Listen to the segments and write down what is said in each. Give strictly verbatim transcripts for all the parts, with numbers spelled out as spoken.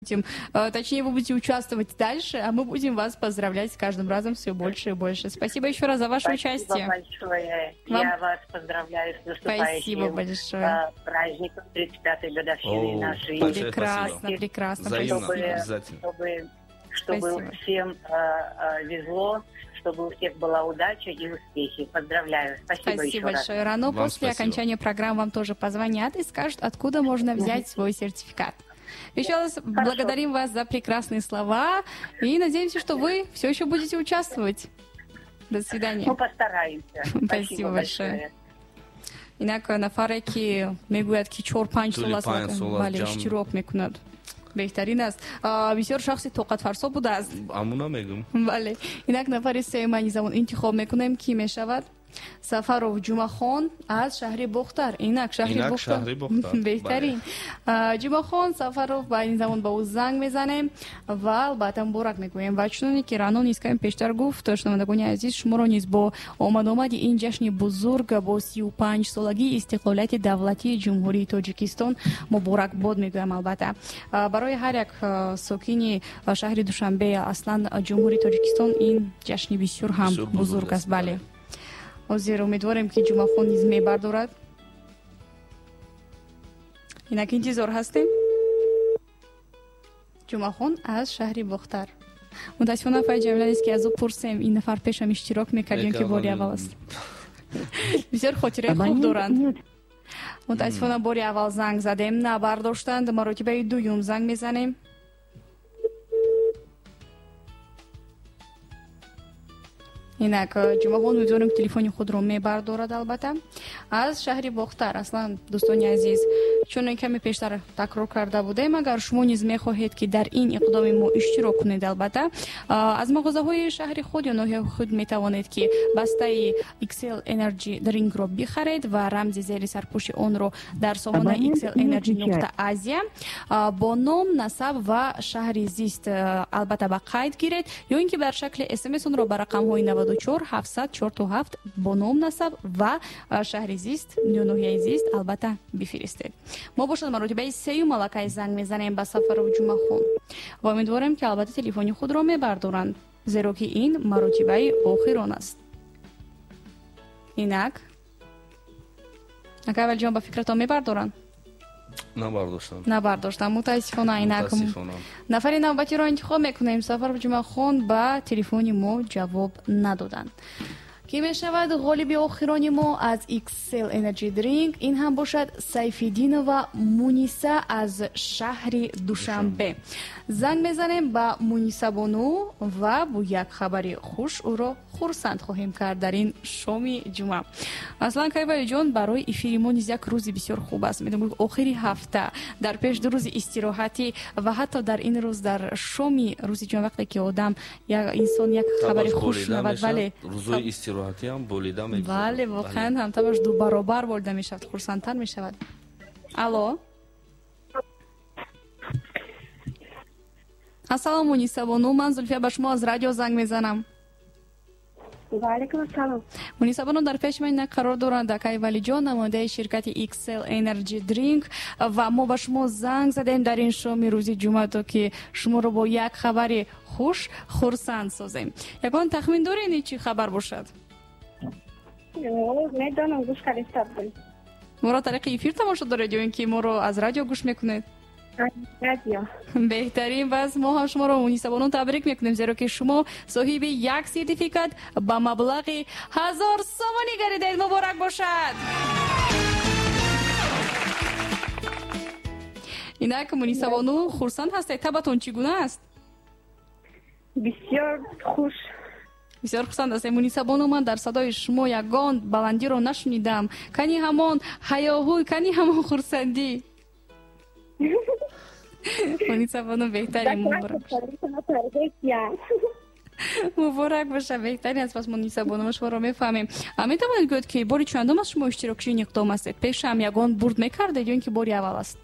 Будем, точнее, вы будете участвовать дальше, а мы будем вас поздравлять с каждым разом все больше и больше. Спасибо еще раз за ваше Спасибо участие. Большое. Вам... Я вас поздравляю с наступающим Спасибо большое. Праздником тридцать пятой годовщины О, нашей. Прекрасно, спасибо. Прекрасно. Взаимно, чтобы, обязательно. Чтобы, чтобы всем э, везло, чтобы у всех была удача и успехи. Поздравляю. Спасибо, спасибо еще большое, раз. Рано. Вам после спасибо. Окончания программы вам тоже позвонят и скажут, откуда можно взять свой сертификат. Еще раз Хорошо. Благодарим вас за прекрасные слова и надеемся, что вы все еще будете участвовать. До свидания. Мы постараемся. Спасибо, Спасибо большое. большое. Инак нафаре ки мегӯяд ки чор панҷ сол аст бале иштирок мекунад. Беҳтарин аст. Бисёр шахси тоқатфарсо будааст. Амуна мегӯм. Бале. Инак нафари сеюм низ замон интихоб мекунем, ки мешавад Сафаров Ҷумахон аз шаҳри Бохтар. Инак шаҳри Бохтар. Беҳтарин. Ҷумахон Сафаров ба ин замон ба ӯ занг мезанем ва албатта муборак мегӯем. Ва чуноне ки Рано низ каме пештар гуфт, шунавандагони азиз, шуморо низ бо омадомади ин ҷашни бузург бо сию панҷ солагии истиқлолияти давлатии Ҷумҳурии Тоҷикистон муборакбод мегӯям. Албатта барои ҳар як сокини шаҳри Душанбе, аслан Ҷумҳурии Тоҷикистон ин ҷашни бисёр ҳам бузург аст. Бале. Ҳозир умедворем, ки Ҷумахон низ мебардорад. Инак интизор ҳастем. Ҷумахон аз шаҳри Бохтар. Мутаассифона фай Ҷамила нест, ки аз ӯ пурсем, ин нафар пешам иштирок мекард ё ки бори аввал аст. Бисёр хотираи хуб доранд. Мутаассифона бори аввал занг задем, набардоштанд. Маротибаи дуюм занг мезанем. Инак Ҷумахон умедворем, ки телефони худро мебардорад. Албатта аз шаҳри Бохтар. Аслан дӯстони азиз, чун каме пештар такрор карда будем, агар шумо низ мехоҳед, ки дар ин иқдоми мо иштирок кунед, албатта аз мағозаҳои шаҳри худ ё ноҳияи худ метавонед, ки бастаи икс эл Energy Drink-ро бихаред ва рамзи зери сарпӯши онро дар сомонаи икс эл Energy нуқта Азия бо ном, насаб ва шаҳри зист албатта ба қайд гиред, ё ин ки дар шакли смс онро ба рақамҳои наваду чор ҳафтсад чорту ҳафт бо ном, насаб ва шаҳри зист ё ноҳияи зист албатта бифиристед. Мо бошад маротибаи сеюм аллакай занг мезанем ба Сафаров Ҷумахон ва умедворем, ки албатта телефони худро мебардоранд, зеро ки ин маротибаи охирон аст. Инак акай Валиҷон, ба фикратон мебардоранд? Набардоштам. Набардоштам. Мутаассифона. Инак нафари навбатиро интихоб мекунем. Сафаров Ҷумахон ба телефони мо ҷавоб надоданд. Ки мешавад ғолиби охирони мо аз икс эл Energy Drink? Ин ҳам бошад Сайфиддинова Муниса аз шаҳри Душанбе. Занг мезанем ба Муниса бону ва бо як хабари хуш ӯро хурсанд хоҳем кард дар ин шоми ҷумъа. Аслан Кайвалиҷон, барои эфири мо низ як рӯзи бисёр хуб аст. Медонам, охири ҳафта, дар пеш ду рӯзи истироҳатӣ ва ҳатто дар ин рӯз, дар шоми рӯзи ҷумъа, вақте ки одам, инсон як хабари хуш шунавад, бале, рӯзои истироҳатӣ ҳам болида мегузарад. Бале, воқеан ҳам табаш ду баробар болида мешавад, хурсандтар мешавад. Алло. Ассалому Муниса бону, ман Зулфия ба шумо аз радио занг мезанам. Ва алайкум ассалом. Муниса бону, дар пеши ман қарор доранд акай Валиҷон, намояндаи ширкати икс эл Energy Drink, ва мо ба шумо занг задем дар ин шоми рӯзи ҷумъа, то ки шуморо бо як хабари хуш хурсанд созем. Ягон тахмин доред, ин чӣ хабар бошад? Медонам, гӯш карда будам. Моро тариқи эфир тамошо доред ё ин ки моро аз радио гӯш мекунед? Радио. Беҳтарин. Пас мо ҳам шуморо Муниса бону табрик мекунем, зеро ки шумо соҳиби як сертификат ба маблағи ҳазор сомонӣ гардидаед. Муборак бошад. Инак Муниса бону, хурсанд ҳастед? Табатон чӣ гуна аст? Бисёр хуш. Бисёр хурсанд ҳастем. Муниса бону, ман дар садои шумо ягон баландиро нашунидам. Кани ҳамон ҳаёҳӯй, кани ҳамон хурсандӣ? Муниса бону, беҳтарин, муборак муборак боша, беҳтарин аст. Пас Муниса бону, мо шуморо мефаҳмем. Метавонед гӯед, ки бори чандум аст шумо иштирокчии ин иқдом ҳастед? Пешам ягон бурд мекардед ё ин ки бори аввал аст?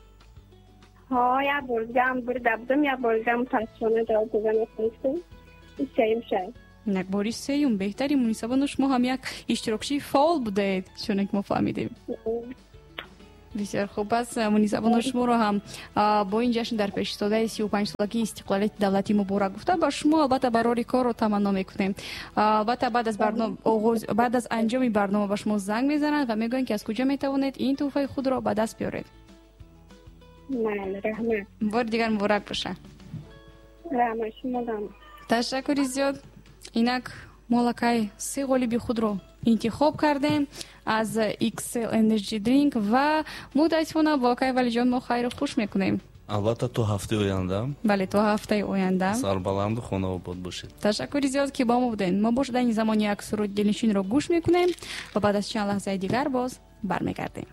Ҳо, як бор дигам бурда будам, як бор дигам мутаассифона ҷавоб дода натавонистам. Сеюм шуд. Инак бори сеюм. Беҳтарин Муниса бону, шумо ҳам як иштирокчии фаъол будаед, чуне ки мо фаҳмидем. Бисёр хуб аст. Мунисабону, шуморо ҳам бо ин ҷашн дар пеш истодаи сию панҷсолагии истиқлолияти давлатӣ муборак гуфта, ба шумо албатта барори корро таманно мекунем. Албатта, баъд аз оғоз, баъд аз анҷоми барнома ба шумо занг мезананд ва мегӯянд, ки аз куҷо метавонед ин тӯҳфаи худро ба даст биёред. Раҳмат. Бори дигар муборак боша. Раҳмат шумодам. Ташаккури зиёд. Инак мо аллакай се ғолиби худро интихоб кардем аз X L Energy Drink ва мутаассифона бо акай Валиҷон мо хайру хуш мекунем. Албатта, то ҳафтаи оянда. Бале, то ҳафтаи оянда. Сарбаланду хонаобод бошед. Ташаккури зиёд, ки бо мо будед. Мо бо шудани замони як суруди дилнишинро гӯш мекунем ва баъд аз чанд лаҳзаи дигар боз бармегардем.